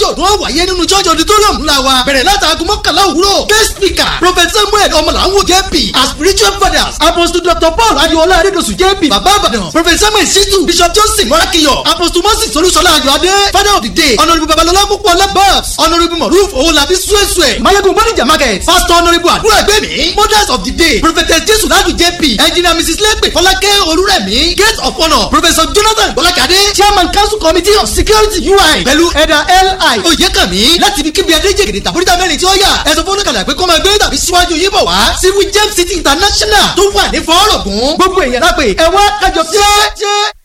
Alájọ̀dún ó wáyé nínú church auditorium ńlá wa. Bẹ̀rẹ̀ látàgùn 11 òwúrọ̀. Guest speaker Prophet Samuel Ọmọlàwọ̀ JP as spiritual fathers Apostle Dr. Paul Adiola Adedosu JP Baba Ibadan Prophet Samuel Shitu Bishop Johnson Morakiyo Apostle Moses Olúṣọlá Ayọ̀adé Father of the day Honourable Babalọlá Pópóọlá Babs Honourable Moruf Owolabi Suesue Mayegun Bonija Market Pastor Honourable Àdúrà Ẹgbẹ́mi Mothers of the day Prophetess Jesu Ladu JP Engineer Mrs. Lepe Fọlákẹ́ Olúrẹ̀mí Gate of Honour Professor Jonathan Bọ́lákadé Chairman Council Committee of Security UI pẹ̀lú Ẹ̀dà LI Oyèkànmí láti ibi kíbi Adéjègèdè tàbúrítà mẹ́rin tí ó yà ẹ̀sọ́ fọ́nùkàlà pé kó máa gbé tàbí síwájú yín bọ̀ wá civil James City International tó wà ní fọ́ọ̀rọ̀gùn gbogbo èèyàn lápè ẹ wá kájọ ṣe.